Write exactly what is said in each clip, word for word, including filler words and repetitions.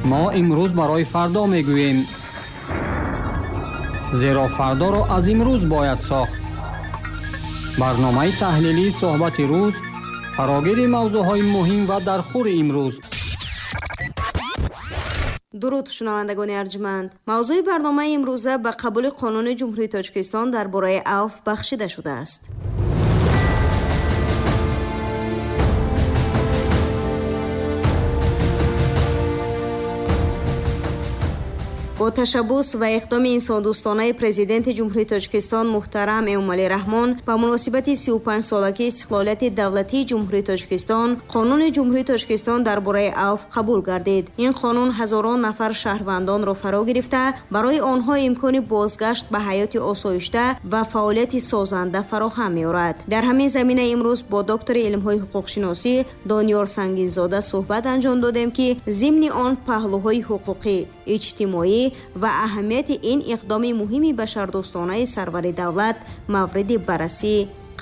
Мо имрӯз барои фардо мегӯем, зеро фардоро аз имрӯз бояд сохт. Барномаи таҳлилии суҳбати рӯз фарогири мавзӯъҳои муҳим ва дархӯри имрӯз. Дуруд, шунавандагони арҷманд. Мавзӯи барномаи имрӯза ба қабули қонуни Ҷумҳурии Тоҷикистон дар бораи авф бахшида шудааст. Бо ташаббус ва иқдоми инсондӯстонаи Президенти Ҷумҳурии Тоҷикистон муҳтарам Эмомалӣ Раҳмон ба муносибати сию панҷ солагии истиқлолияти давлатии Ҷумҳурии Тоҷикистон Қонуни Ҷумҳурии Тоҷикистон дар бораи авф қабул гардид. Ин қонун ҳазорон нафар шаҳрвандонро фаро гирифта, барои онҳо имкони бозгашт ба ҳаёти осоишта ва фаъолияти созанда фароҳам меорад. Дар ҳамин замина имрӯз бо доктори илмҳои ҳуқуқшиносӣ Дониёр Сангинзода суҳбат анҷом додем, ки зимни он паҳлӯҳои ҳуқуқӣ, иҷтимоӣ ва аҳамияти ин иқдоми муҳими башардӯстонаи сарвари давлат мавриди баррасӣ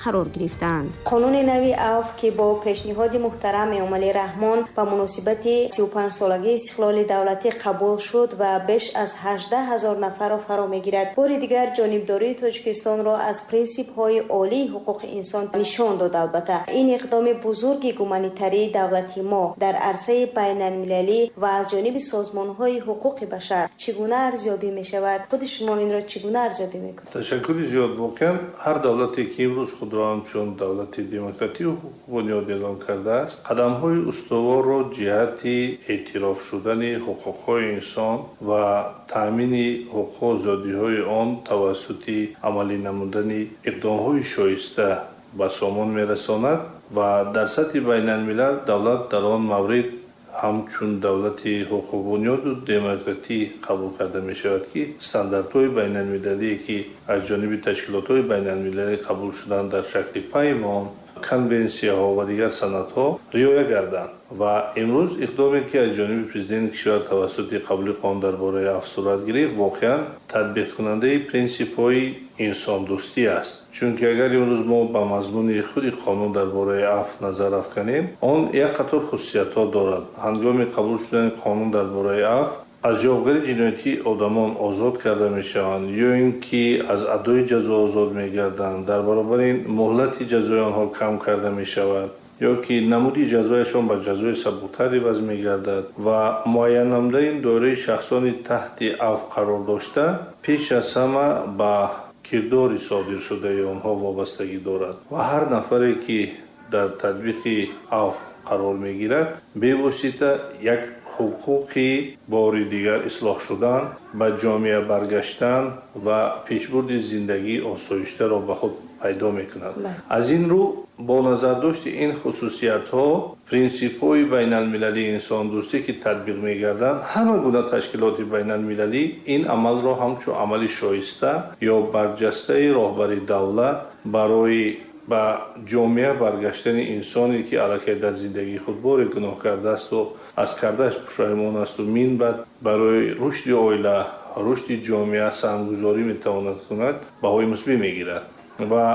қарор гирифтанд. Қонуни нави авф, ки бо пешниҳоди муҳтарам Эмомалӣ Раҳмон ба муносибати сию панҷ солагии истиқлоли давлатӣ қабул шуд ва беш аз ҳаждаҳ ҳазор нафарро фаро мегирад, бори дигар ҷонибдории Тоҷикистонро аз принсипҳои олии ҳуқуқи инсон нишон дод. Албатта, ин иқдоми бузурги гуманитарии давлати мо дар арсаи байналмилалӣ ва аз ҷониби созмонҳои ҳуқуқи башар чӣ гуна арзёбӣ мешавад? Худи шумо инро чӣ гуна арзёбӣ мекунед? Ташаккури зиёд. Воқеан ҳар давлате ки имрӯз худ ҳамчун давлати демократию ҳуқуқбунёд эълон кардааст, қадамҳои устуворро ҷиҳати эътироф шудани ҳуқуқҳои инсон ва таъмини ҳуқуқу озодиҳои он тавассути амалӣ намудани иқдомҳои шоиста ба сомон мерасонад ва дар сатҳи байналмилал давлат дар он маврид ҳамчун давлати ҳуқуқбунёду демократӣ қабул карда мешавад, ки стандартҳои байналмилалие, ки аз ҷониби ташкилотҳои байналмилалӣ қабул шуданд, дар шакли паймон, конвенсияҳо ва дигар санадҳо риоя гарданд. Ва имрӯз иқдоме, ки аз ҷониби президенти кишвар тавассути қабули қонун дар бораи авф сурат гирифт, воқеан татбиқкунандаи принсипҳои инсондӯстӣ аст. Чунки агар имрӯз мо ба мазмуни худи қонун дар бораи авф назар афканем, он як қатор хусусиятҳо дорад. Ҳангоми қабул шудани қонун дар бораи авф аз ҷавобгарии ҷиноятӣ одамон озод карда мешаванд ё ин ки аз адои ҷазо озод мегарданд. Дар баробари ин муҳлати ҷазои онҳо кам карда мешавад ё ки намуди ҷазояшон ба ҷазои сабуктар иваз мегардад ва муайян намудани доираи шахсони таҳти авф қарор дошта пеш аз ҳама ба кирдори содиршудаи онҳо вобастагӣ дорад ва ҳар нафаре, ки дар татбиқи авф қарор мегирад, бевосита як ҳуқуқи бори дигар ислоҳ шудан, ба ҷомеа баргаштан ва пешбурди зиндагии осоиштаро ба худ пайдо мекунад. Аз ин рӯ бо назардошти ин хусусиятҳо принсипҳои байналмилалии инсондӯстӣ, ки татбиқ мегарданд, ҳама гуна ташкилоти байналмилалӣ ин амалро ҳамчун амали шоиста ё барҷастаи роҳбари давлат барои ба ҷомеа баргаштани инсоне, ки аллакай дар зиндагии худ боре гуноҳ кардаасту аз кардааш пушаймон асту минбаъд барои рушди оила, рушди ҷомеа саҳмгузорӣ метавонад кунад, баҳои мусбӣ мегирад. Ва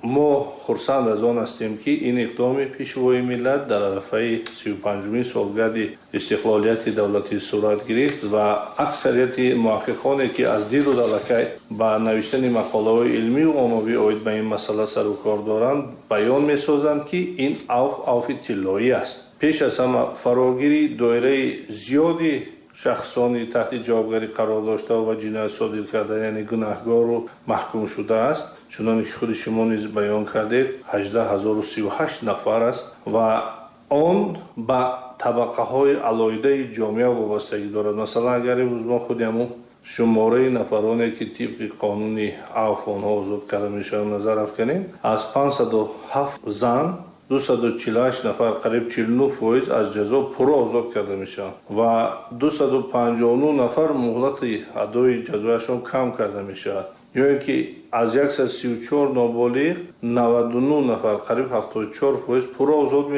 мо хурсанд аз он ҳастем, ки ин иқдоми пешвои миллат дар арафаи сию панҷумин солгарди истиқлолияти давлатӣ сурат гирифт ва аксарияти муҳаққиқоне, ки аз дирӯз аллакай ба навиштани мақолаҳои илмию оммавӣ оид ба ин масъала сару кор доранд, баён месозанд, ки ин авф авфи тиллоӣ аст. Пеш аз ҳама фарогири доираи зиёди шахсони таҳти ҷавобгарӣ қарор дошта ва ҷиноят содир карда, яъне гунаҳгору маҳкум шудааст, чуноне ки худи шумо низ баён кардед, ҳаждаҳ ҳазору сию ҳашт нафар аст ва он ба табақаҳои алоҳидаи ҷомеа вобастагӣ дорад. Масалан, агар имрӯз мо худи ҳамун шумораи нафароне, ки тибқи қонуни авф онҳо озод карда мешаванд, назар афканем, аз панҷсаду ҳафт зан дусаду чилу ҳашт нафар, қариб чилу нӯҳ фоиз аз ҷазо пурра озод карда мешаванд ва дусаду панҷоҳу нӯҳ нафар муҳлати адои ҷазояшон кам карда мешавад. Ё ин ки аз яксаду сию чор ноболиғ наваду нӯҳ нафар, қариб ҳафтоду чор фоиз пурра озод